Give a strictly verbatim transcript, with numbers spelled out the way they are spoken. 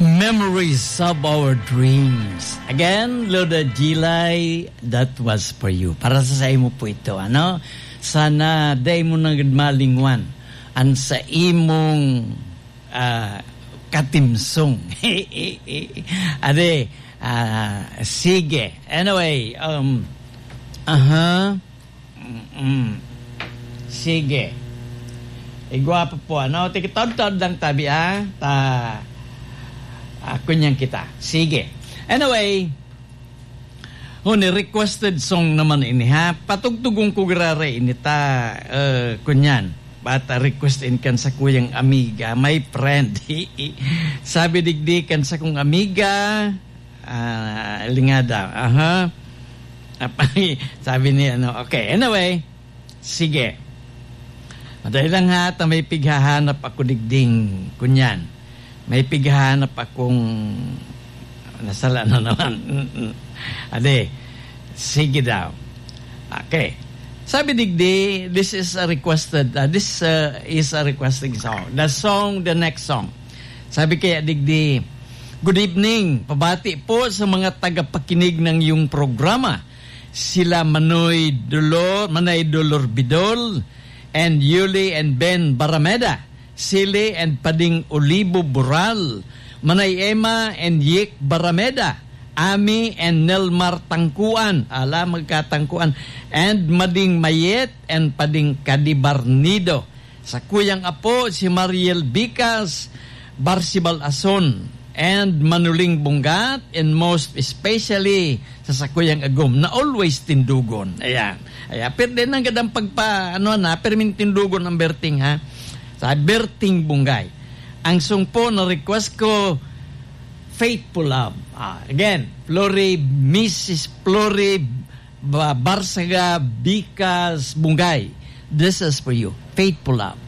Memories of our dreams. Again, Loda Gilay, that was for you. Para sa saimo po ito, ano? Sana dai mo na gud malingwan an sa imong, ah, katimsong. Ade, ah, sige. Anyway, um, aha. Mm-mm. Sige. Igwa pa po, ano? Tikitaod-taod lang tabi, ah. Ta, ah, kunyan kita. Sige. Anyway, huni, requested song naman ini, ha? Patugtugon ko giraray ini ta, eh, kunyan. Bata request in kan sa kuyang amiga, my friend. Sabi digdi kan sa kong amiga, ah, lingada. Aha. Sabi ni ano, okay. Anyway, sige. Madali lang ha, ta may pighahanap ako digding, kunyan. May pighahanap akong, nasala na naman. Mm-mm. Ade, sige daw. Okay. Sabi digdi, this is a requested, uh, this uh, is a requesting song. The song, the next song. Sabi kaya digdi, "Good evening. Pabati po sa mga tagapakinig ng iyong programa. Sila Manoy Dolor, Manay Dolor Bidol, and Yuli and Ben Barameda. Sili and Pading Olivo Boral, Manay Emma and Yik Barameda, Ami and Nelmar Tangkuan, ala, magkatangkuan, and Mading Mayet and Pading Kadibarnido. Sa kuyang apo, si Mariel Bicas, Barsibal Ason, and Manuling Bunggat, and most especially sa sakuyang agom na always tindugon." Ayan. Ayan. Pero din ang gadang pagpa, ano na, permin tindugon ang Berting, ha? Sa Berting Bungay. Ang song po na request ko, Faithful Love. Ah, again, Flori, Missus Flori Ba-, Barsaga, Bicas, Bungay. This is for you. Faithful Love.